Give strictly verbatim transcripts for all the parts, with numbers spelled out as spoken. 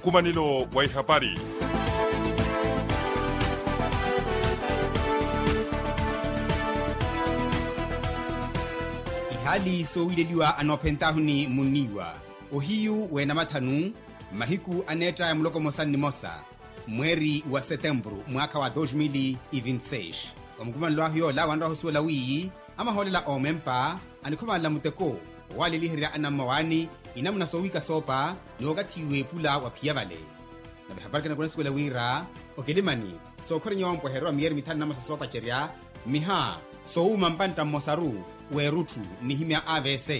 Nkumanelo wa ihapari. Ihaali soowileliwa anoophentahuni munniiwa ohiyu weenamathanu, mahiku aneetta ya muloko mosa nnimosa, mweeri wa setempuru mwaakha wa dos mil e vinte seis. Omukumanelo ahu yoola wanrowa ohusuwela wiiyi amahoolela oomempa anikhumanela muteko owaaleliherya anammawaani inamuna soowika soopa ni wakathi weepula waphiya vale. Nave hapari kanakulanisiwela wira okilimani sookhorenya wampwehererwa miyeeri mithanu namosa soopacerya mmiha soowuma mpantta mmosaru w'erutthu nnihimya avc.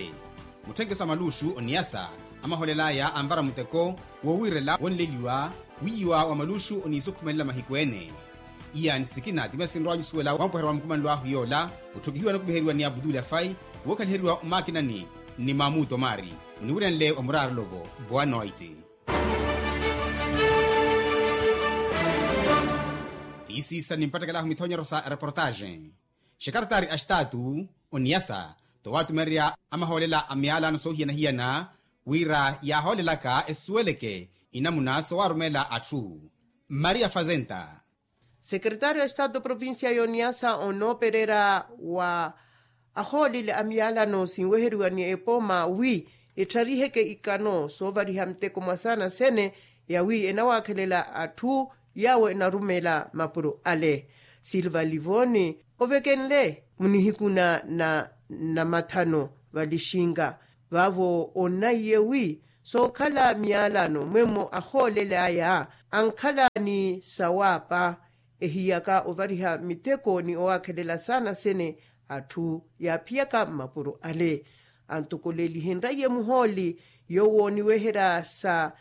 Mutthenkeso a maluuxu oniyasa amahoolel'aya anvara muteko wowiirela wonleliwa wiiwa wa maluuxu oniisukhumelela mahiku ene. Iya ni sikina ti masi nrowa nyusuwela wampwehererwa wa mukumanelo ahu yoola otthukihiwa anokumiheriwa ni abutuli afai wookhaliheriwa omaakinani ni mamuto maari muniwiranle wa muraarolovo. Boa noite. Tiisiisa ni mpattekelaho mithonyero sa reportaxe. Xekaretari a xitaatu oniyasa towaatumereya amahoolela a miyalano soohiyana-hiyana wira yaahoolelaka esuweleke inamuna soowaarumela atthu. Maria fazenta. Sekeretariyo a estado provincia y'oniyasa onoopererya wa ahoolele a miyalano sinweheriwa ni epooma wi ettariheke ikano soovariha miteko mwa saana sene yawi enawaakhelela atthu yaawo enarumela mapuro ale. Silva livoni ovekenle munihiku na namathano valixinga vaavo onnaiye wi sookhala miyalano mwemmo ahoolele aya ankhala ni sawaapa ehiyaka ovariha miteko ni owaakhelela saana sene atthu yaaphiyaka mmapuro ale. Antokolelihenraiye muhooli yoowo oniweherya sa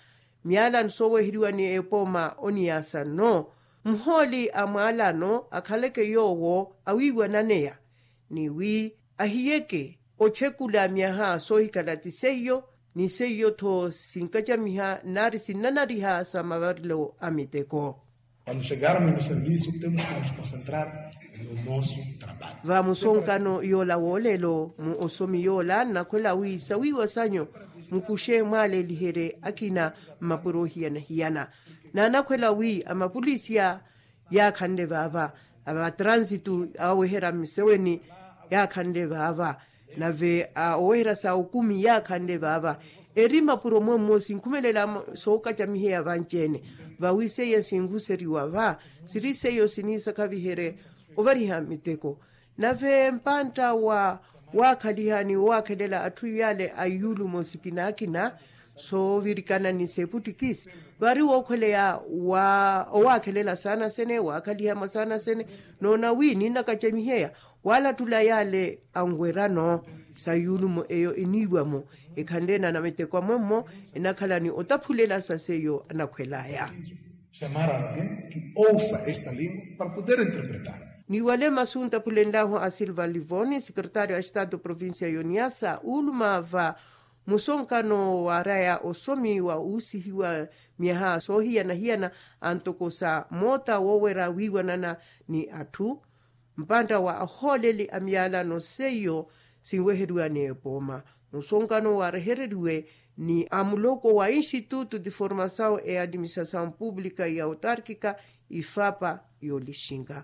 miyalano sooweheriwa ni epooma oniyasa nno muhooli a mwalano akhaleke yoowo awiiwananeya ni wi ahiyeke otthekula myaha soohikhala ti seiyo ni seiyo-tho sinkacamiha nari sinnanariha sa mavarelo a miteko. Quando chegarmos no serviço temos que nos concentrar no nosso trabalho. Va musonkano yoola woolelo mu osomi yoola nnakhwela wi sawiiwa sanyu mukuxe mwaaleliherye akina mmapuro ohiyana-hiyana. Naanakhwela wi amapulisiya yaakhanle vaava, a va transitu aweherya mmiseweni yaakhanle vaava, nave a oweherya sa okumi yaakhanle vaava. Eri mapuro mwemmo sinkhumelela sookacamiheya vanci-ene vawi seiya sinhuseriwa va siri seiyo siniisakhaviherye ovariha miteko. Nave mpantta wa waakhaliha ni owaakhelela atthu yale a iyulumo sikina akina soovirikana ni seputtikisi vari wookhweleya wa owaakhelela saana sene waakhaliha mwa saana sene noona wi ninnakacamiheya waalattula yale anwerano sa iyulumo eyo eniiwamo ekhanle na namiteko amwemmo enakhala ni otaphulela sa seiyo anakhwelaya. Chamar a alguém que ouça esta língua para poder interpretar. Ni wale masu ntaphulenlahu a silva livoni sekeretario a estado provincia y'oniyasa uuluma va musonkano waaraya osomi wa uusihiwa myaha soohiyana-hiyana antoko sa moota woowerya wiiwanana ni atthu mpantta wa ahooleli a miyalano seiyo sinweheriwa ni epooma musonkano waarehereriwe ni a muloko wa instituto de formasaw e administrasaw publica ya otarkica ifapa y'olixinga.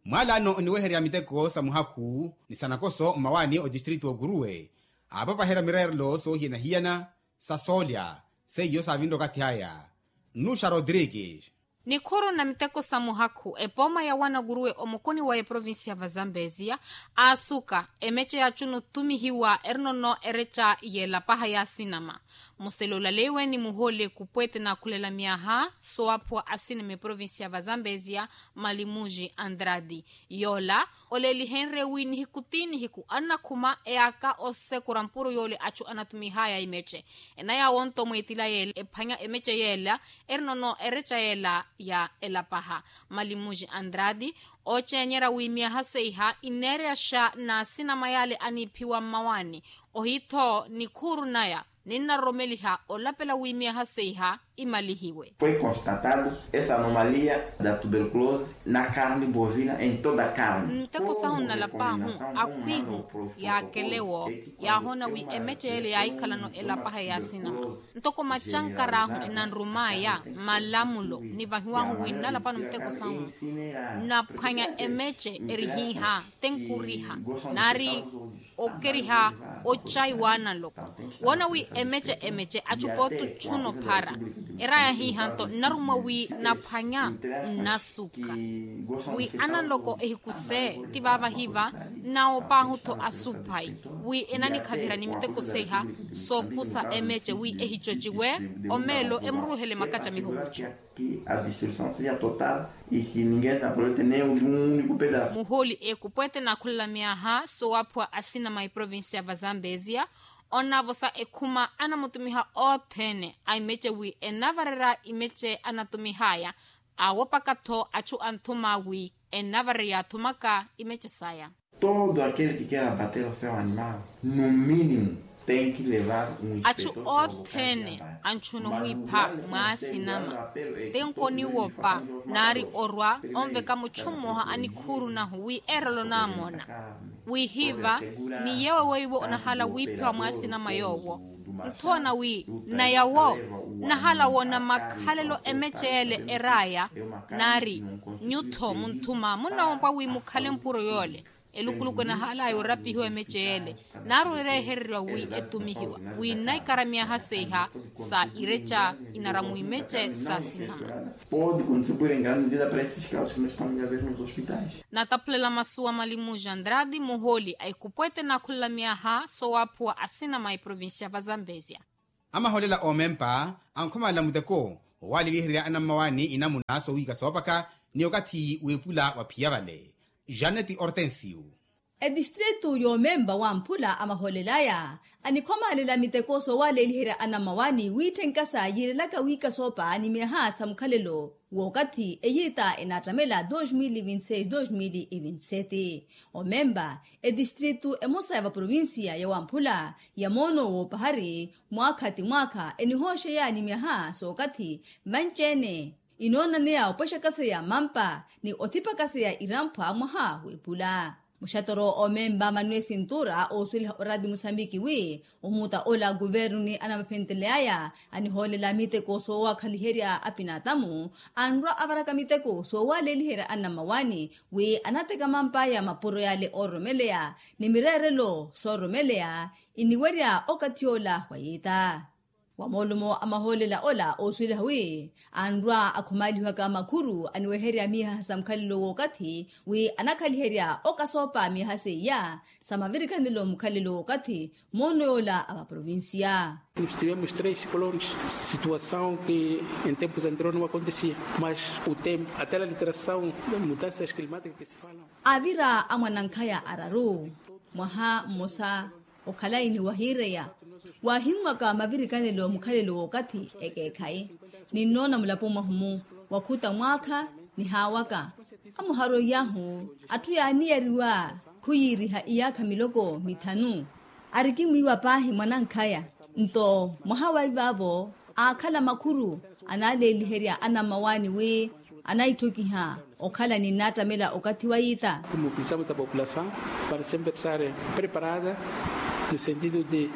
Mwalano oniweherya miteko sa muhakhu ni sa nakoso mmawaani otistritu oguruwe aapapaherya mireerelo soohiyana-hiyana sa soolya seiyo saavinre okathi aya. Nnuxa rodrigues. Nikhuru na miteko sa muhakhu epooma ya wanaguruwe omukuni wa eprovincia va zambezia aasuka emece ya chunutumihiwa erinono ereca yelapaha ya sinama. Musele olaleiwe ni muhooli ekupwete naakhulela myaha sowaaphuwa asinama eprovincia va zambezia malimuji andradi yoola olelihenrye wi nihiku ti nihiku annakhuma eyaaka osekura mpuro yoole achu anatumihaya emece ena yaawonto mweetila yeela ephwanya emece yeela erinono ereca yeela ya elapaha. Malimuji andradi oocenyerya wi myaha seiha ineereyaxa n'asinama yaale aniiphiwa mmawaani ohiitho nikhuuru naya ninnaroromeliha olapela wi myaha seiha imalihiwe. Foi constatado essa anomalia da tuberculose na carne bovina em toda a carne. Nteko sahu nnalapaahu akhwihu yaakelewo yaahoona wi emece yeele yaahikhalano elapaha yaasinama ntoko macankarahu enanrumaya malamulo nivahiwahu wi nnalapano miteko sahu naphwanya emece erihiiha tenkuriha naari okeriha ocayi waananloko woona wi emece emece achu pooti ochuna ophara eraya hiihanto nnarummwa wi naphwanya nnasuka wi ananloko ehiku se ti vaavahiva nnawoopaahu-tho asuphayi wi enanikhaviherya ni miteko seiha sookusa emece wi ehicociwe omeelo emuruuhele makaca mihukucu. Muhooli ekupwete naakhulela myaha soowaphuwa asinama eprovincia va zambezia onavosa ekhuma anamutumiha othene a imece wi enavarerya imece anatumihaya awopaka-tho achu anthuma wi enavarerya athumaka imece saya. Todo aquele que quer abater o seu animal no mínimo tem que levar um achu othene anchuna omwiipha mwaasinama tenkoni wopa naari orwa onveka muchu mmoha anikhuuru nahu wi erelo naamona wihiiva ni yeewe weiwo onahala wiiphiwa mwaasinama yoowo nthoona wi nayawo nahala woona makhalelo emece yeele eraya naari nyutho munthuma munnawompwa wi mukhale mpuro yoole elukuluku enahalaya orapihiwa emece yeele naari oreehereriwa wi etumihiwa wi nnaikara myaha seiha sa ireca inaramu imece sa sinama. Pode contribuir em grande medida para esses casos que nós estamos a ver nos hospitais. Nataphulela masuwa malimu jandrade muhooli a ikupwete naakhulela myaha soowaphuwa asinama a iprovincia va zambezia. Amahoolela oomempa ankhomalela muteko owaaleliherya anammawaani inamuna soowika soopaka ni okathi w'epula wa phiya vale. Janeti ortensiu. Etistritu yoomempa wamphula amahoolelaya anikhomaalela miteko soowaaleliherya anammawaani wiitthenka sa yiirelaka wiika soopa ni myaha sa mukhalelo w'okathi eyiita enaattamela dos mil e vinte seis dos mil e vinte sete. Omempa etistritu emosa ya vaprovincia ya wamphula ya moono woopahari mwaakha ti mwaakha enihooxeya ni myaha sookathi vanci-ene inoonaneya opwexakaseya mampa ni othipakaseya iramphwa mwaha w'epula. Muxatoro oomempa manuel sintura oosuweliha oraati musambiki wi omuta ola a kuvernu ni anamaphenteleyaya anihoolela miteko soowakhaliherya apinaatamu anrwa avaraka miteko soowaleliherya anammawaani wi anateka mampaya mapuro yale oororomeleya ni mireerelo soororomeleya iniwerya okathi ola wa yiita. Wa moolumo a mahoolela ola oosuweliha wi anrwa akhumalihwaka makhuru aniweherya miyaha sa mukhalelo w'okathi wi anakhaliherya okasoopa miyaha seiya sa mavirikhanelo mukhalelo w'okathi moono yoola a vaprovincia. Nós tivemos três ciclones, situação que em tempos anteriores não acontecia, mas o tempo até a alteração das mudanças climáticas que se falam. Avira a mwanankhaya araru mwaha mmosa okhalayi ni wahiireya waahinwaka mavirikanelo mukhalelo w'okathi ekeekhayi ninnoona mulapo mwahumu wakhuta mwaakha nihaawaka amuharoiyahu atthu yaaniyariwa khuyiiriha iyaakha miloko mithanu arikimwiiwa paahi mwanankhaya nto mwaha wa ivaavo aakhala makhuru anaaleeliherya anammawaani wi anaitthokiha okhala ni nnaattamela okathi wa yiita. Mobilizamos a população para sempre estar preparada no sentido de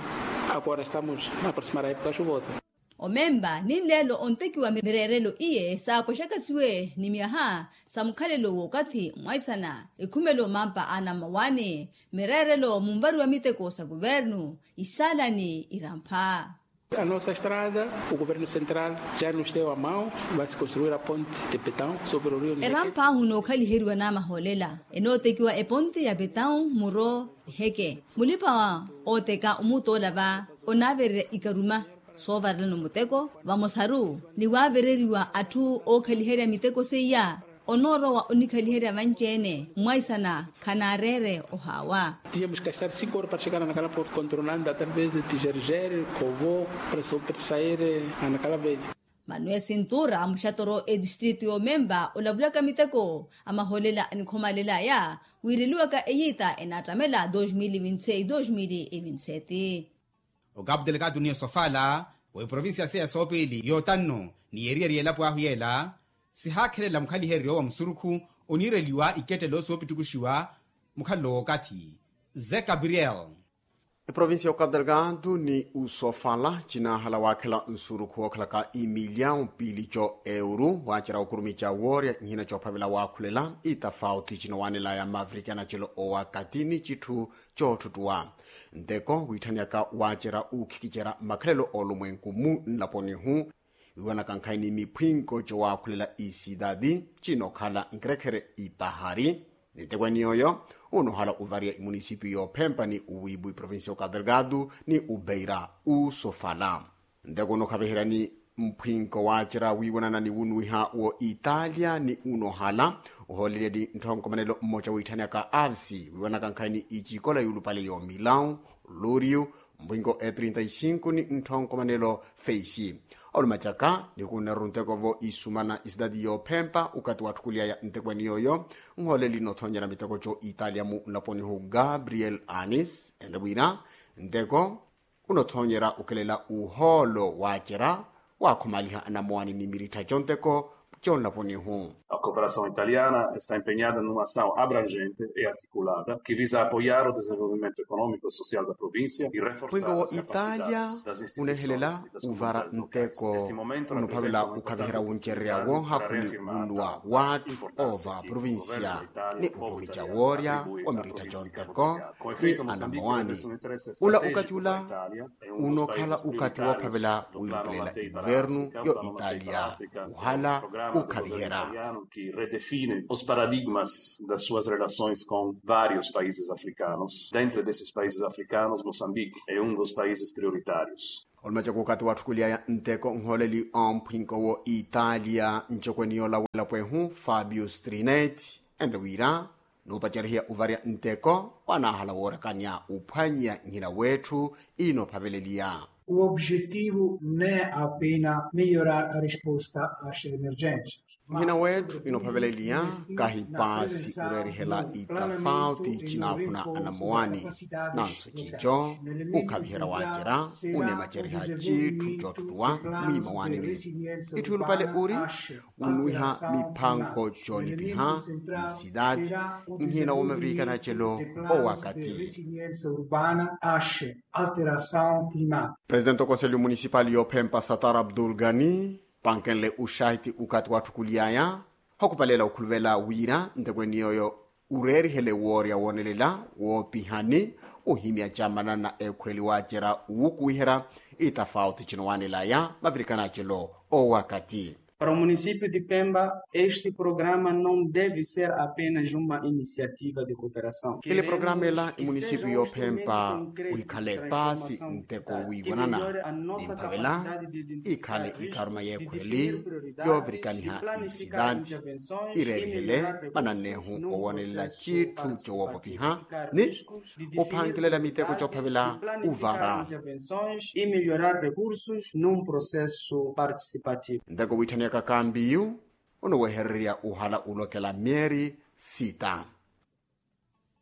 agora estamos a aproximar a época chuvosa. Omempa ni nleelo ontekiwa mireerelo iye saapwexakasiwe ni myaha sa mukhalelo w'okathi mwaisana ekhumelo mampa a anammawaani mireerelo munvariwa miteko sa kuvernu isaalani irampha. A nossa estrada o governo central já nos deu a mão, vai se construir a ponte de betão sobre o rio Niheke. Erampha ahu nookhaliheriwa n'amahoolela enootekiwa eponte ya betão muro niheke mulipa ooteka omuutola va onaavererya ikaruma soovarelana omuteko vamosaru ni waavereriwa atthu ookhaliherya miteko seiya onoorowa onikhaliherya vanci-ene mwaisana khanaareere ohaawa. Tínhamos que estar cinco horas para chegar a Nacala por contornando através de Tijerjere, Kovo, para sair a Nacala Velha. Manuel sintura muxatoro etistritu y'omempa olavulaka miteko amahoolela anikhomalelaya wiireliwaka eyiita enaattamela dos mil e vinte seis dos mil e vinte sete. Okapu delekatu ni osofala wa eprovincia seya soopili yotanno ni yeriyari yelapo ahu yela, sihaakhelela mukhaliheryo wa musurukhu oniireliwa ikettelo soopitukuxiwa mukhalelo wookathi. Ze gabriel. Eprovincia ya okapu delekatu ni usofala cinaahala waakhela nsurukhu wookhalaka imiliyawu pilico euru waacerya okurumi ca woorya nhina coophavela waakhulela itafauti cinowanelaya mavirikana celo owakati ni citthu coottuttuwa. Nteko wiitthaniyaka waacerya ukhikicerya makhalelo olumwenku mu nlaponihu wiiwanaka nkhayi ni miphwinko cowaakhulela isidadi cinokhala nkerekhere ipahari. Ni nteko eniyoyo unohala uvariya imunisipiyu yoophempa ni uwiibu iprovincia okapu delekatu ni ubeira usofala. Nteko unokhaviherya ni mphwinko waacerya wiiwanana ni wunwiha wo italia ni unohala uhoolelya ni ntthonkhomanelo mmoca wiitthaniyaka avsi wiiwanaka nkhayi ni icikola yuulupale yoomilawu luriyu mpwinko e trinta y cinco ni ntthonkhomanelo feishi. Olumacaka ni kuneru nteko vo isumana isidadi yoophempa ukati watthukuliyaya nteko eniyooyo nhooleli nothonyerya miteko co italia mu nlaponihu gabriel anis enre wira nteko unothonyerya ukelela uhoolo waacerya waakhomaliha anamowani ni mirittha conteko conlaponihu. A cooperação italiana está empenhada numa ação abrangente e articulada que visa apoiar o desenvolvimento econômico e social da província e reforçar as capacidades das instituições e das comunidades locais. Neste momento representa um importante oportunidade para reafirmar a apoiar importante do governo da Itália no povo italiano. Mpwinko wa italia unehela uvara nteko unopalavela ukhaviherya wuncererya woohakhuli munnuwa watthu oova aprovincia ni ukhumi ca woorya wa mirittha conteko ni anamowani. Ula ukati ula unokhala ukati woophavela wiilupelela iguvernu yo italia uhala ukhaviherya. Que redefine os paradigmas das suas relações com vários países africanos. Dentro desses países africanos, Moçambique é um dos países prioritários. Olumacaka ukati watthukuliyaya nteko nhooleli omphwinko wo italia ncokweni yoola welapo ehu fabio strinet enre wira nuupacarihiya uvarya nteko wanaahala woorekanya uphwanyiya nhina wetthu inophaveleliya. O objetivo ne apena melhorar a resposta às emergências. Nhina wetthu inophaveleliya kahi paasi oreerihela itafauti cinaakhuna anamowani. Nanso cico ukhaviherya waacerya unemacariha citthu coottuttuwa mwiimawanini. Itthu yulupale uri wunwiha miphanko coolipiha isidadi nhina womavirikana acelo owakati. Alteração climática. Presidente okonselho municipal yoophempa satar abdul gani pankenle uxahiti ukati watthukuliyaya hokupaleela okhuluvela wira ntekweni yooyo ureerihele woorya woonelela woopihani ohimya camanana ekhweli waacerya wukuwiherya itafauti cinowanelaya mavirikana acelo owakati. Para o município de pemba este programa não deve ser apenas uma iniciativa de cooperação. Ele programa ela imunisipiyu yoophempa wikhale paasi nteko wiiwanana ni mphavela ikhale ikaruma y'ekhweli yoovirikaniha isidadi ireerihele manannehu owoonelela citthu cowoopopiha ni ophankelela miteko coophavela uvara. Nteko wiitthaniyaka kambiyu onowehererya ohala olokela myeeri sita.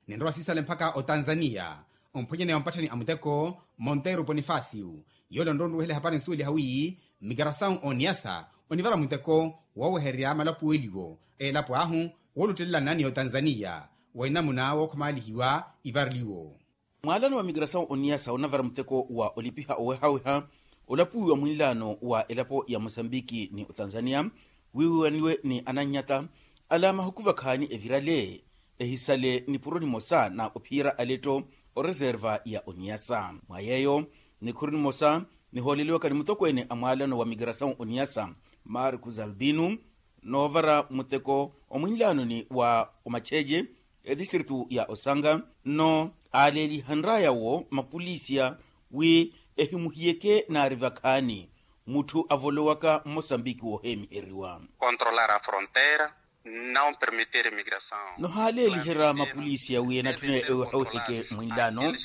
Ninrowa siisale mpakha otanzaniya omphwanyani wa mpatthani a muteko monteiro ponifasiu yoole onrowa onruwehela ehapari nsuweliha wi migrasawu oniyasa onivara muteko woowehererya malapuweliwo a elapo ahu wooluttelelana ni otanzaniya wa enamuna wookhomaalihiwa ivareliwo. Mwaalano wa migrasawu oniyasa onavara muteko wa olipiha owehaweha olapuwiwa mwinlaano wa elapo ya mosambiki ni otanzaniya wiiwaniwe ni anannyata ala mahuku vakhaani evirale ehisale nipuro nimosa na ophiyerya aletto oreserva ya oniyasa mwa yeeyo nikhuru nimosa nihooleliwaka ni mutokweene a mwaalano wa migrasawu oniyasa marcus albino noovara muteko omwinlaanoni wa omacheche etistritu ya osanga nno aaleelihanraya wo mapulisiya wi ehimuhiyeke naari vakhaani mutthu avolowaka mmosambiki wooheemiheriwa. Controlar a fronteira não permitir migrasawu. Nohaaleeliherya mapulisiya wi enatthune ewehaweheke mwinlaano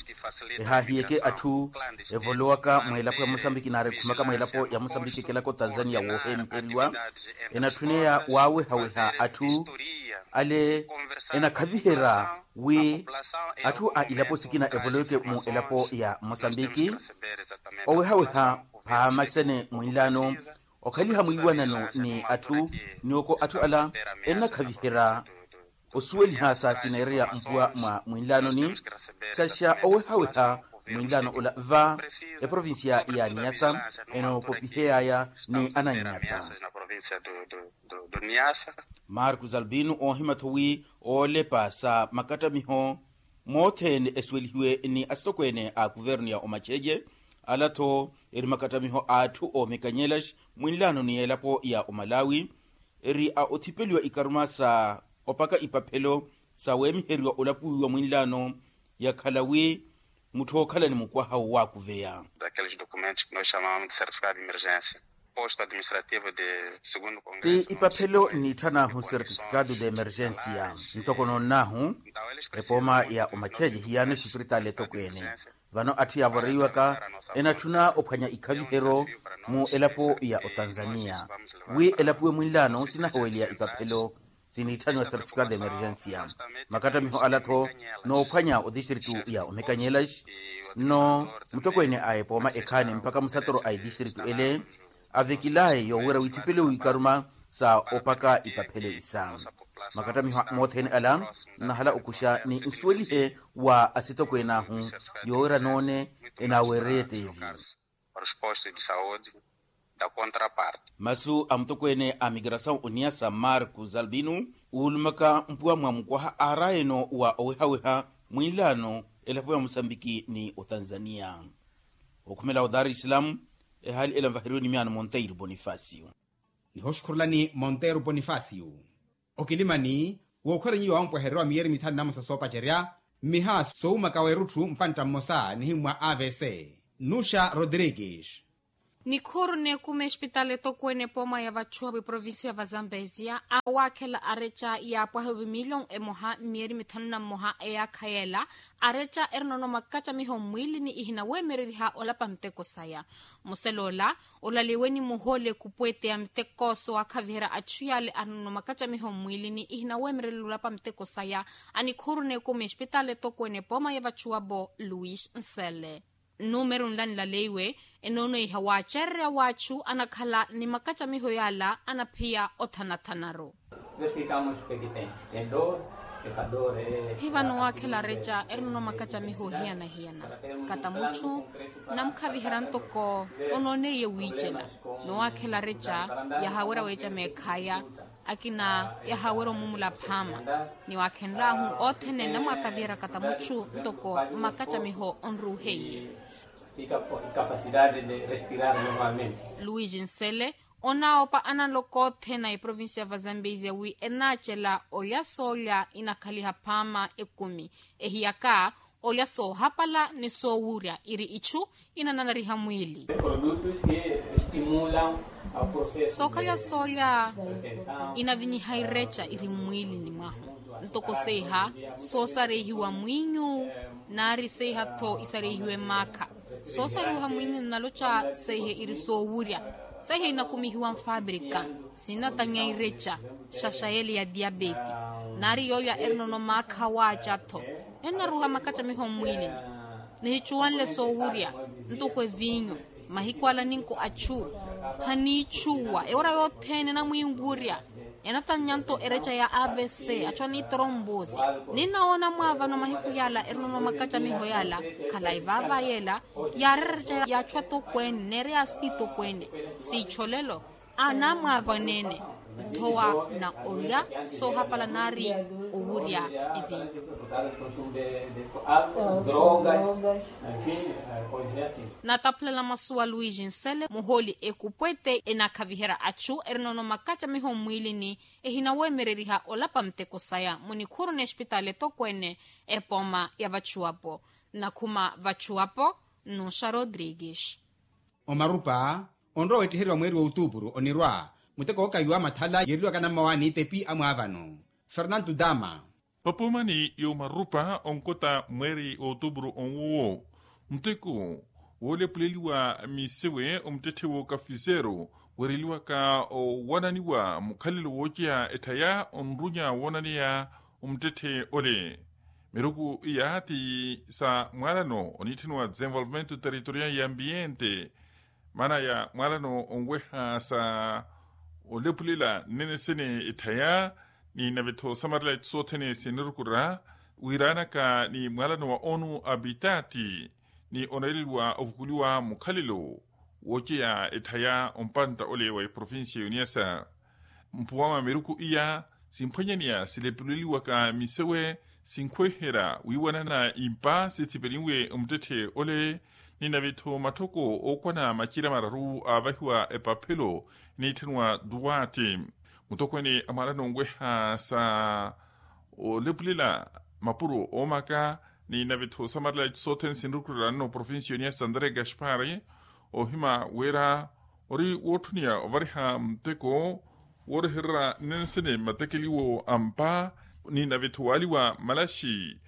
ehaahiyeke atthu evolowaka mweelapo ya mosambiki naari ekhumaka mweelapo ya mosambiki ekelaka otanzaniya wooheemiheriwa enatthune ya waawehaweha atthu ale enakhaviherya wi atthu a ilapo sikina evoloweke mu elapo ya mosambiki owehaweha phaamacene mwinlaano okhaliha mwiiwanano ni atthu ni oko atthu ala ennakhaviherya osuweliha sa sineereya mpuwa mwa mwinlaanoni. Xaxa owehaweha mwinlaano ola va eprovincia ya niyasa enoopopiheyaya ni anannyata. Marcos albino oohima-tho wi oolepa sa makattamiho mothene esuwelihiwe ni asitokweene a kuvernu ya omacheje ala-tho eri makattamiho a atthu oomekanyelaxi mwinlaano ni elapo ya omalawi eri a othipeliwa ikaruma sa opaka ipaphelo sa weemiheriwa olapuwiwa mwinlaano yakhala wi mutthu ookhala ni mukwaha wowaakuveya. Daqueles documentos que nós chamamos de certificado de emergência posto administrativo de segundo congresso ti ipaphelo nniitthan'ahu certificado de emergência ntoko noonn'ahu epooma ya omacheje hiyaano exipiritaali etokweene. Vano atthu yaavoreiwaka enatthuna ophwanya ikhaviheryo mu elapo ya otanzania wi elapuwe mwinlaano sinahoweliya ipaphelo siniitthaniwa certificado de emergência. Makattamiho ala-tho noophwanya odistritu ya omekanyelaxi nno mutokweene a epooma ekhaani mpakha musatoro a etistritu ele avekilaye yoowerya withipeliwe wiikaruma sa opaka ipaphelo isa. Makattamiho mothene ala nnahala okuxa ni nsuwelihe wa asitokween'ahu yoowerya noone enaaweererye eteevi. Para os postos de saúde da contraparte. Masu a mutokweene a migrasaw oniyasa marcos albino uulumaka mpuwa mwa mukwaha aarayeno wa owehaweha mwinlaano elapo ya mosambiki ni otanzania. Okhumela o dar es salaam ehaali ela nvaheriwe ni miyaano monteiro bonifacio. Nihoxukhurulani monteiro bonifacio. Okilimani wookhwerenyiwa wampwehererya wa miyeeri mithanu na mmosa soopacerya mmiha soowumaka weerutthu mpantta mmosa nihimmwa avc nuxa rodrigues. Nikhuuru neekuma espitaali etokweene epooma ya vachuhapu eprovincia va zambezia awaakhela areca yaapwaha ovimilion emoha mmiyeeri mithanu na mmoha eyaakha yeela areca erinono makacamiho mmwiilini ihinaweemereriha olapa muteko saya. Museloola olaliwe ni muhoole ekupweete ya miteko sowaakhaviherya achu yaale arinono makacamiho mmwiilini ihinaweemererela olapa muteko saya. Anikhuuru neekuma espitaali etokweene epooma ya vachuwapo luis nsele. Nnumeru nla nilaleiwe enoonoiha waacererya waachu anakhala ni makacamiho yaala anaphiya othanathanaru. Hivano waakhela areca erinono makacamiho ohiyana-hiyana kata muchu nnamukhaviherya ntoko onooneiye wiicela. Ni waakhela areca yahaawerya weecama ekhaya akina yahaawerya omumula phaama ni waakhenlaahu othene nnamwaakaviherya kata muchu ntoko makacamiho onruuheiye. Luis nsele onaawopa analoko othene a eprovincia va zambezia wi enaacela olya soolya inakhaliha phaama ekumi ehiyaka olya soohapala ni soowurya iri ichu inananariha mwiili. Sookhalya soolya inavinyiha ireca iri mmwiilini mwahu ntoko seiha soosareihiwa mwiinyu naari seiha-tho isareihiwe maakha. Soosariwiha mwiinyu nnaloca seiha iri soowurya seiha inakumihiwa nfaabrika sinatanya ireca xaxayele ya diapeti naari yoolya erinono maakha waaca-tho ennaruha makacamiho mmwiilini. Nihicuwanle soowurya ntoko eviinyu mahiku ala ninku achu haniichuwa ewara yothene enamwiiwurya. Enatannya-nto ereca ya avc achu aniitorombosi ninnawoona mwaavano mahiku yaala erinono makacamiho yaala khalayi vaava yeela yaarera ereca ya achu atokweene neereya asitokweene siicholelo anamwaavaneene. Thowa na olya soohapala naari owurya eviinyu. Nataphulela masu wa luis nsele muhooli ekupwete enakhaviherya achu erinono makacamiho mmwiilini ehinaweemereriha olapa muteko saya munikhuru n'espitaali etokweene epooma ya vachuwapo. Nakhuma vachuwapo nnuxa rodrigues. Omarupa onrowa weettiheriwa mweeri wa otuupuru onirwa muteko wookahiwa mathala yeereliwaka nammawaani tepi amwaavano fernanto dama. Papoomani y'omarupa onkota mweeri wa otuupuru onwuwo muteko Woolepuleliwa misewe omuttetthe w'okafiseero weereliwaka owananiwa mukhalelo wooceya etthaya onrunya woonaneya omuttetthe ole. Miruku iya ti sa mwaalano oniitthaniwa desenvolvimento territorial ya ambiente, maana ya mwaalano onweha sa olepulela nnene sene etthaya ni nave-tho samarela itthu sothene sinirukurira, wiiranaka ni mwaalano wa onu apitati ni oneeleliwa ovukuliwa mukhalelo wooceya etthaya ompantta ole wa eprovincia yoniasa. Mpuwa mwa miruku iya simphwanyaneya silepuleliwaka misewe sinkhweherya wiiwanana impa sithipelinwe omuttetthe ole, ni nave-tho matthoko ookwana macira mararu aavahiwa epaphelo eniitthaniwa duwati. Mutokweene a mwaalano onweha sa olepulela mapuro oomaka ni nave-tho samarela itthu sothene sinirukurira nno provincia yoniasa andré gaspar, ohima wira ori wootthuniya ovariha muteko woorehererya nnensene mmatekeliwo a mpa, ni nave-tho waaliwa malaxi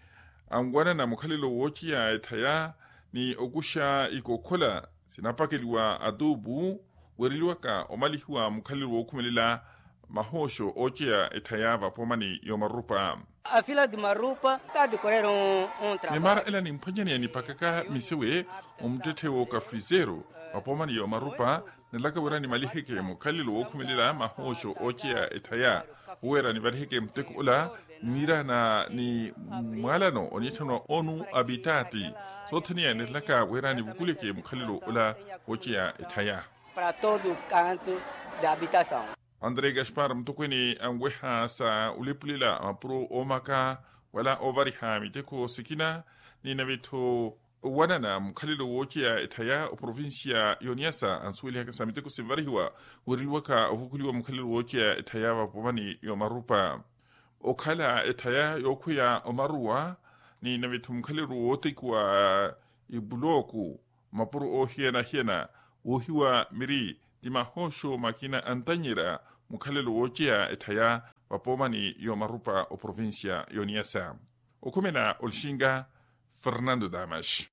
anwanana mukhalelo wooceya etthaya ni okuxa ikokhola sinapakeliwa atuupu, weereliwaka omalihiwa mukhalelo wookhumelela mahooxo ooceya etthaya vapoomani y'omarupa. A fila di marupa ka di korera. Ni mara ela nimphwanyaneya nipakaka misewe omuttetthe w'okafiseero vapoomani y'omarupa, nilaka wira nimaliheke mukhalelo wookhumelela mahooxo ooceya etthaya, wira nivaliheke muteko ola niirana ni mwaalano oniitthaniwa onu apitati. Sothene nilaka wira nivukuleke mukhalelo ola wooceya etthaya. Para todo canto da habitação. André gaspar mutokweene anweha sa olepulela mapuro oomaka wala oovariha miteko sikina, ni nave-tho owanana mukhalelo wooceya etthaya oprovincia yoniasa ansuwelihaka sa miteko sinvarihiwa, weereliwaka ovukuliwa mukhalelo wooceya etthaya vapoomani y'omarupa. Okhala etthaya yookhweya omaruwa, ni nave-tho mukhalelo wootekiwa ipulooku mapuro oohiyana-hiyana, woohiwa miri ti mahooxo makina antanyerya mukhalelo wooceya etthaya vapoomani y'omarupa oprovincia yoniasa. Okhumela olixinga fernando damas.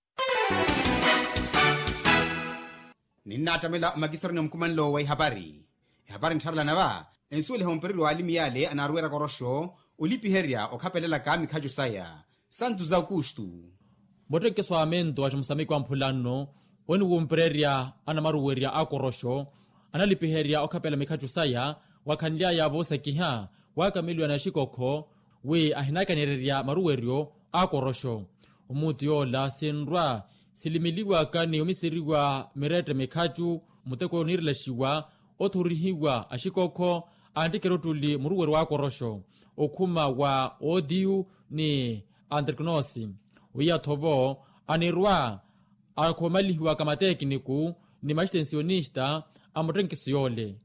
Ninnaattamela omakisaroni a mukhumanlo wa ihapari. Ehapari nttharelana va ensuweliha ompereryo w'alimi yale anaaruwerya koroxo olipiherya okhapelelaka mikhacu saya. Santos aukustu. Muttekiso wa mento wa cimusamiki wa mphula nno oniwumpererya anamaruwerya a koroxo analipiherya okhapela mikhacu saya, wakhanly'aya voosakiha wakameliwa na xikokho wi ahinakanyererya maruweryo a koroxo. Omuutu yoola sinrwa silimiliwaka ni omisiriwa mirette mikhacu muteko oniirelaxiwa othorihiwa axikokho anttike eruttuli muruweryo wa koroxo okhuma wa otiyu ni antriknosi. Wiya-tho vo anirwa akhomalihiwaka matekiniku ni maxitensionista a muttenkiso yoole.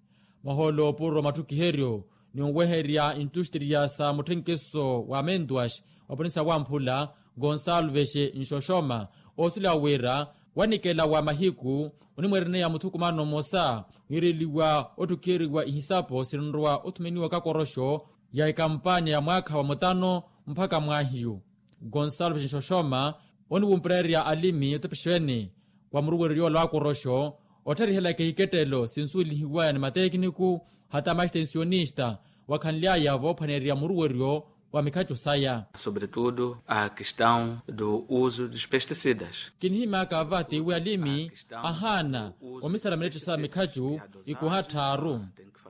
Mahoolo opuro matthukiheryo ni onweherya intustriya sa mutthenkiso wa mentuax wa ponisa wamphula gonsalves nxoxoma oosuleya wira wanikela wa mahiku onimweereneya muthukumano mmosa wiireliwa otthukiheriwa ihisapo sinrowa othumeniwaka koroxo ya ekampanya ya mwaakha wa mutano mpakha mwaahiyu. Gonsalves nxoxoma oniwumpererya alimi otepexeweni wa muruweryo yoola wa koroxo ottharihelaka ehikettelo sinsuwelihiwaya ni matekiniku hata maxitensionista wakhanly'aya voophwaneerya muruweryo wa mikhacu saya. Sobretudo a questão do uso dos pesticidas. Kinihimyaka va tiwi alimi ahaana omisala mirette sa mikhacu ikuha tthaaru.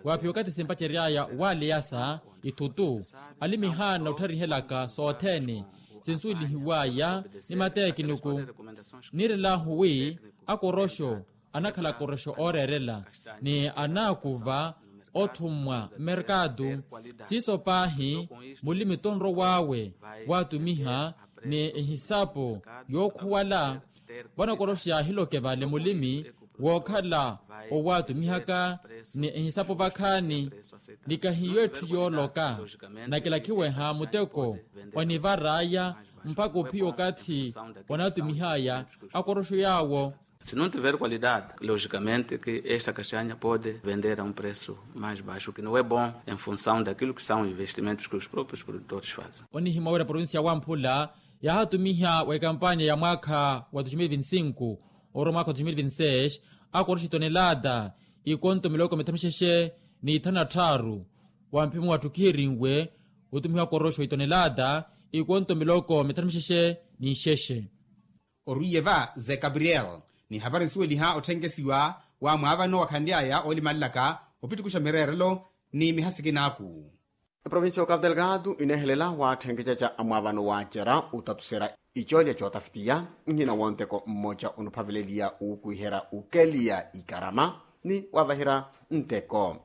Waaphiya okathi simpacery'aya waleyasa ithutu alimi haana ottharihelaka sothene sinsuwelihiwaya ni matekiniku. Niirelahu wi akoroxo anakhala akoroxo ooreerela ni anaakuva othummwa mmerkatu. Siiso paahi mulimi tonrow'awe waatumiha ni ehisapo yookhuwala vano akoroxo yaahiloke vale mulimi wookhala owaatumihaka ni ehisapo vakhaani. Ni kahiyo etthu yooloka nakilakhiweha muteko onivar'aya mpakha ophiya okathi onaatumih'aya akoroxo yaawo. Se não tiver qualidade logicamente que esta castanha pode vender a um preço mais baixo que não é bom em função daquilo que são investimentos que os próprios produtores fazem. Onihimya wira provincia wamphula yaahatumiha wa ekampanya ya mwaakha wa dois mil vinte e cinco Oro mwaakha wa dois mil vinti seis akoroxa itonelata ikonto miloko mithanu mixexe ni ithanu na tthaaru. Wa mphimo wattu khihirinwe otumihiwa akoroxa itonelata ikonto miloko mithanu mixexe ni nxexe. Orwiye va ze gabriel ni hapari nsuweliha otthenke siwa wa mwaavano wa khanly'aya oolimalelaka opittukuxa mireerelo ni mihasikinaku. Eprovincia ya okapu delgado ineehelela watthenkecaca a mwaavano waacerya otatuserya icoolya cootafitiya nhina wonteko mmoca onophaveleliya uukwiherya ukeliya ikarama ni wavaherya nteko.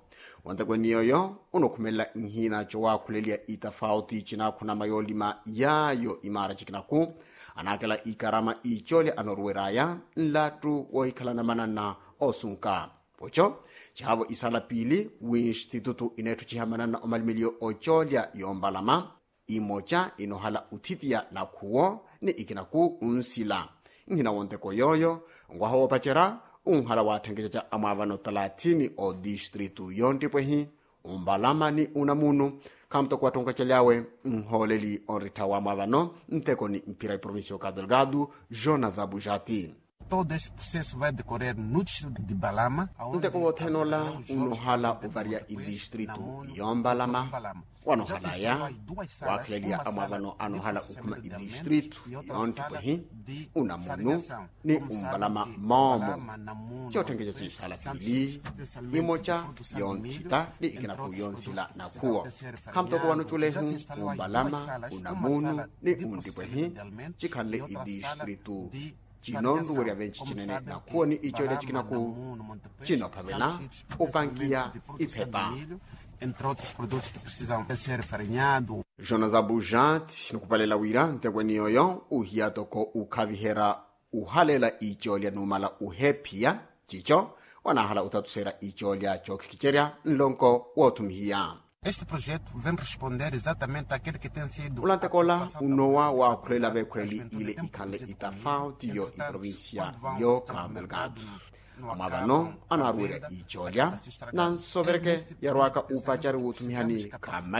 Wonteko eniyoyo onokhumelela nhina cowakhuleliya itafauti cinaakhunama yoolima yaayo imaara cikinaku anaakela ikarama icoolya anooruwery'aya nlattu woohikhalana mananna oosunka. Poco cihaavo isaala piili winstitutu ineetthuciha mananna omalimeliyo ocoolya yoombalama imoca inoohala othitiya nakhuwo ni ikinaku onsila. Nhina wonteko yooyo nwaha woopacerya onhala watthenkecaca a mwaavano talathini odistritu yonttipwehi ombalama ni unamunu. Khamuttoko wattonkacely'awe nhooleli onrittha wa mwaavano nteko ni mphira eprovincia ya okapu delgado jonas abujati. Todo esse processo vai decorrer no distrito de balama. Nteko wothene ola unoohala ovarya idistritu yombalama. Wanoohalaya waakhileliya amwaavano anoohala okhuma idistritu yonttipwehi unamunu ni umbalama moomo. Cootthenkeca ciisaala piili imoca yonthita ni ikinaku yonsila nakhuwo. Khamuttoko wano culehu umbalama unamunu ni untipwehi cikhanle idistritu cinonruwerya venci cinene nakhuwo ni icoolya cikinaku cinophavela opankiya iphepa. Entre outros produtos que precisam ser farinhado. Jonas abujat nikupalela wira ntekweni yoyo uhiya toko ukhaviherya uhalela icoolya numala uhephiya cico wanahala utatuserya icoolya cookhikicerya nlonko woothumihiya. Este projeto vem responder exatamente aquele que tem sido ulanteko ola unowa waakhulela vekhweli ile ikhanle itafauti yo iprovincia yo cabo delgado. Amwaavano anaaruwerya icoolya nansovereke yarwaka upacari wuuthumihani khama.